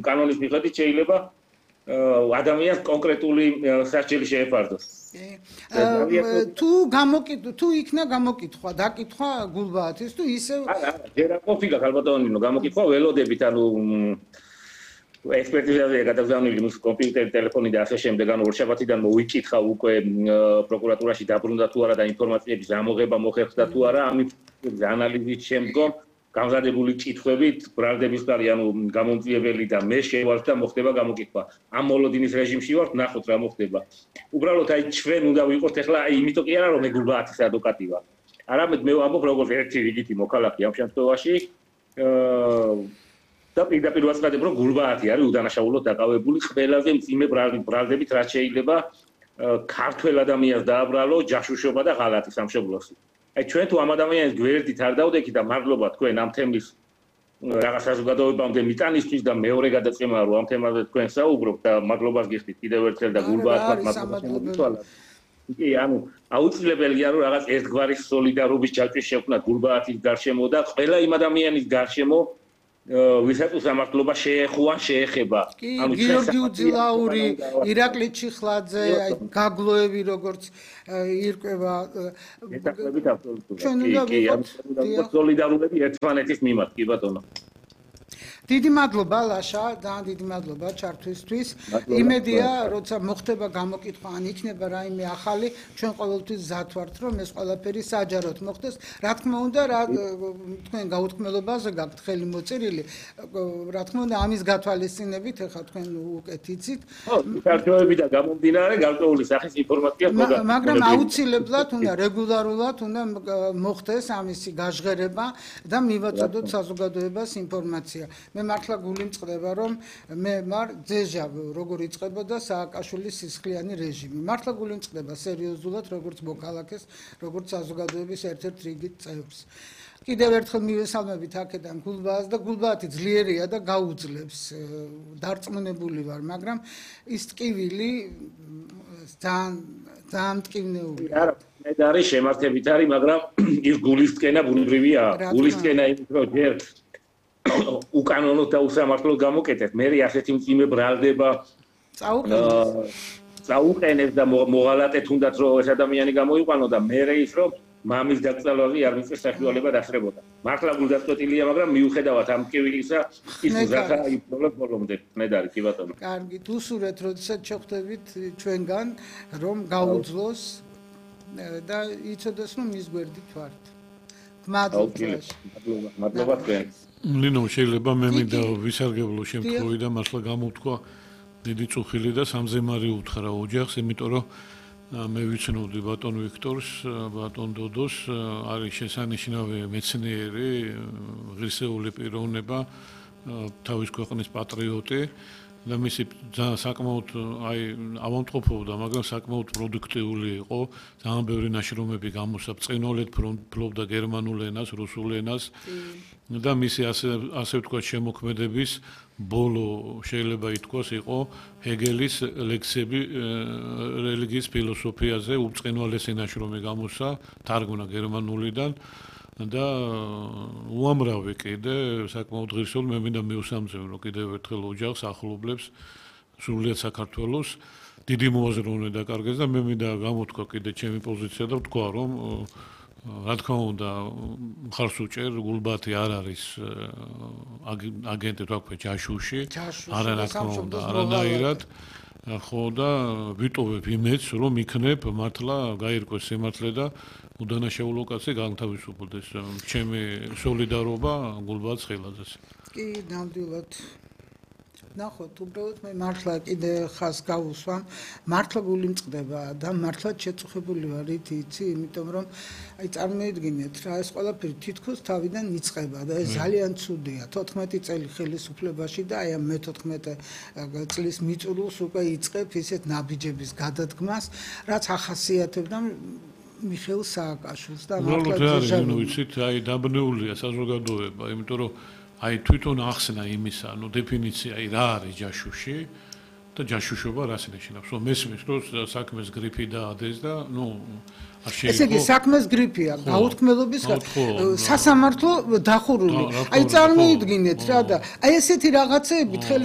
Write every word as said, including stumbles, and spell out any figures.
კანონის მიხედვით შეიძლება ადამიანს კონკრეტული სასჯელი შეეფარდოს. თუ გამოკითხვა, თუ იქნა გამოკითხვა, დაკითხვა გულბაათის თუ ისევ არა, ჯერ არ ყოფილა ხალბატონინო, გამოკითხვა ველოდებით, ანუ ექსპერტიზაზე გადაგზავნილი მის კომპიუტერი, ტელეფონი და ასე შემდეგ, ანუ ორშაბათიდან მოიკითხა უკვე პროკურატურაში დაბრუნდა თუ არა და ინფორმაციების ამოღება მოხერხდა თუ არა, ამის ანალიზის შემდგომ გამზადებული კითხვებით ბრალდების კარი, ანუ გამომწვეველი და მე შევართ და მოხდება გამოკითხვა. ამ მოლოდინის რეჟიმში ვართ, ნახოთ რა მოხდება. უბრალოდ აი ჩვენ უნდა ვიყოთ ახლა აი იმიტომ კი არა რომ მე გულბაათის ადვოკატი ვარ. არამედ მე ვამბობ როგორც ერთი რიგითი მოქალაქე ამ შემთხვევაში და პირდაპირ ვაცხადებ რომ გულბაათი არის უდანაშაულოდ დაკავებული ყველაზე მძიმე ბრალდებით რაც შეიძლება ქართველ ადამიანს დააბრალო ჯაშუშობა და ღალატი სამშობლოში. აი ჩვენ თუ ამ ადამიანის გვერდით არ დავდექით და მადლობა თქვენ ამ თემის რაღაც საზოგადოებამდე მიტანისთვის და მეორე გადაწყვეტა რომ ამ თემაზე თქვენ საუბრობთ და მადლობას გიხდით კიდევ ერთხელ და გულბაათს მადლობა გითვალათ. კი, ანუ აუცილებელია რომ რაღაც ერთგვარი სოლიდარობის ჯაჭვი შექმნა გულბაათის გარშემო და ყველა იმ ადამიანის გარშემო ვისაც უსამართლობა შეეხუა, შეეხება. ანუ გიორგი უძილაური, ირაკლი ჩიხლაძე, გაგლოევი როგორც ირკვევა მეტაკლებით აბსოლუტურად. ჩვენ უნდა ვიყოთ სოლიდარულები ერთმანეთის მიმართ, კი ბატონო. დიდი მადლობა ლაშა, ძალიან დიდი მადლობა ჩართვისთვის. იმედია, როცა მოხდება გამოკითხვა, ან იქნება რაიმე ახალი, ჩვენ ყოველთვის მზად ვართ, რომ ეს ყველაფერი საჯაროდ მოხდეს. რა თქმა უნდა, რა თქვენ გაუთქმელობაზე გაქვთ ხელი მოწერილი, რა თქმა უნდა, ამის გათვალისწინებით, ეხლა თქვენ უკეთ იცით. ხო, საქართველოსი და გამომდინარე გარკვეული სახის ინფორმაცია მოგა. მაგრამ აუცილებლად უნდა რეგულარულად უნდა მოხდეს ამისი გაჟღერება და მივაწოდოთ საზოგადოებას ინფორმაცია. მე მართლა გული მწყდება რომ მე მარ ძეჟა როგორ იწყებოდა სააკაშვილის სისხლიანი რეჟიმი. მართლა გული მწყდება სერიოზულად როგორც მოქალაქეს, როგორც საზოგადოების ერთ-ერთ რიგით წევრს. კიდევ ერთხელ მივესალმებით აქედან გულბაათს და გულბაათი ძლიერია და გაუძლებს. დარწმუნებული ვარ, მაგრამ ის ტკივილი ძალიან ძალიან მტკივნეულია. არა, მე არის შემართებით არის, მაგრამ ის გულისკენა ბუნებრივია. გულისკენა იმით რომ ჯერ უკანონოდ და უსამართლოდ გამოკეთეთ. მე ასეთი მძიმე ბრალდება წაუყენებს და მოღალატეთ თუნდაც რომ ეს ადამიანი გამოიყვანო და მე ის რომ მამის დაკრძალვაზე არ მიწეს საშუალება დასწრებოდა. მართლა გულდაწყვეტილია, მაგრამ მიუხედავად ამ ტკივილისა ის უზრახა იბრძოლებს ბოლომდე. ნედარი, კი ბატონო. კარგი, უსურვეთ, როდესაც შეხვდებით ჩვენგან, რომ გაუძლოს და იცოდეს რომ ის გვერდით ვართ. მადლობა. მადლობა, მადლობა თქვენ. ლინო შეიძლება მე მინდა ვისარგებლო შემთხვევით და მართლა გამოვთქვა დიდი წუხილი და სამზემარი უთხრა ოჯახს, იმიტომ რომ მე ვიცნობდი ბატონ ვიქტორს, ბატონ დოდოს, არის შესანიშნავი მეცნიერი, ღირსეული პიროვნება, თავის ქვეყნის პატრიოტი და მისი საკმაოდ აი ავამტყოფობდა, მაგრამ საკმაოდ პროდუქტიული იყო, ძალიან ბევრი ნაშრომები გამოსცა, ბრწყინვალედ ფლობდა გერმანულ ენას, რუსულ ენას და მისი ასე ასე ვთქვათ შემოქმედების ბოლო შეიძლება ითქვას იყო ჰეგელის ლექსები რელიგიის ფილოსოფიაზე, უბრწყინვალესი ნაშრომი გამოსცა, თარგმნა გერმანულიდან და უამრავი კიდე საკმაოდ ღირსეული მე მინდა მიუსამძიმრო კიდევ ერთხელ ოჯახს ახლობლებს სრულიად საქართველოს დიდი მოაზროვნე დაკარგეს და მე მინდა გამოთქვა კიდე ჩემი პოზიცია და ვთქვა რომ რა თქმა უნდა მხარს უჭერ გულბაათი არ არის აგენტი თქვა ჯაშუში არა რა თქმა უნდა არანაირად ხო და ვიტოვებ იმედს რომ იქნებ მართლა გაირკვეს სიმართლე და უდანაშაულო კაცი განთავისუფლდეს ჩემი სოლიდარობა გულბაათ ხილაძეს კი ნამდვილად ნახოთ უბრალოდ მე მართლა კიდე ხას გავუსვამ მართლა გული მწყდება და მართლა შეწუხებული ვარ იცი იმიტომ რომ აი წარმოიდგინეთ რა ეს ყველაფერი თითქოს თავიდან იწყება და ეს ძალიან ცუდია თოთხმეტი წელი ხელისუფლებაში და აი ამ მეთოთხმეტე წლის მიწურულს უკვე იწყებ ისეთ ნაბიჯების გადადგმას რაც ახასიათებდა მიხეილ სააკაშვილს და მართლა ძაჟანო ვიცით აი დაბნეულია საზოგადოება იმიტომ რომ აი თვითონ ახსნა იმისა, ანუ დეფინიცია, აი რა არის ჯაშუში და ჯაშუშობა რას ნიშნავს? რომ მესმის რომ საქმეს გრიფი დაადეს და ნუ არ შეიძლება. ესე იგი საქმეს გრიფია, გაუთქმელობის სასამართლო დახურული. აი წარმოიდგინეთ რა და აი ესეთი რაღაცეებით ხელი